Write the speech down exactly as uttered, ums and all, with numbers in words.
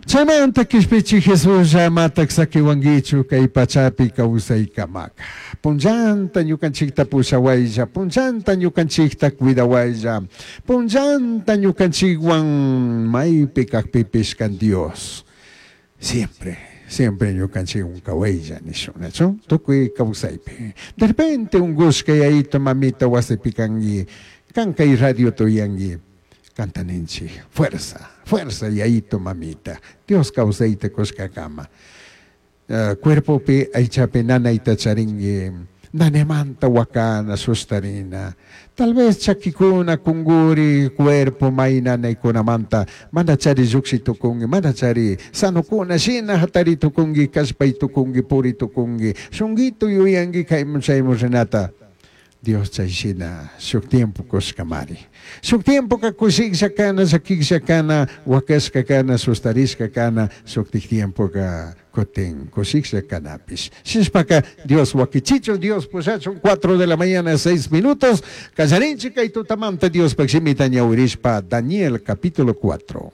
Chaymanta kishpichi Jesús amatak sakiwankichu kay pachapi kawsaykamaka. Punllanta ñukanchikta pushawaylla, punllanta ñukanchikta cuidawaylla, punllanta ñukanchikwan maypi kakpipish kan Dios. Siempre, siempre ñukanchikwan kawaylla nishun, nachu? Tukuy kawsaypi. De repente unkushka yayito mamita wasipi kanki, kan kay radiota uyanki, kantaninchik, fuerza, fuerza yayito mamita, Dios kawsayta kushkakama. Uh, cuerpopi aychapi nanayta charinki, nanemanta wakana sustarina, tal vez chakikuna kunguri cuerpo may nanaykunamanta mana chari lluqshi tukunki, mana chari sanukuna shina hatari tukunki, kallpay tukunki, puri tukunki, shunkitu yuyanki kaymun chaymun rinata. Dios chay shina shuk tiempo kushkamari. Shuk tiempoka kushiklla kana, llakiklla kana, wakashka kana, sustarishka kana, shuktik tiempoka kutin kushiklla kanapish. Shinashpaka Dios wakichichun, Dios pushachun, cuatro de la mañana, seis minutos, kallarinchik kay tutamanta Diospaj shimita ñawirishpa, Daniel capítulo cuatro.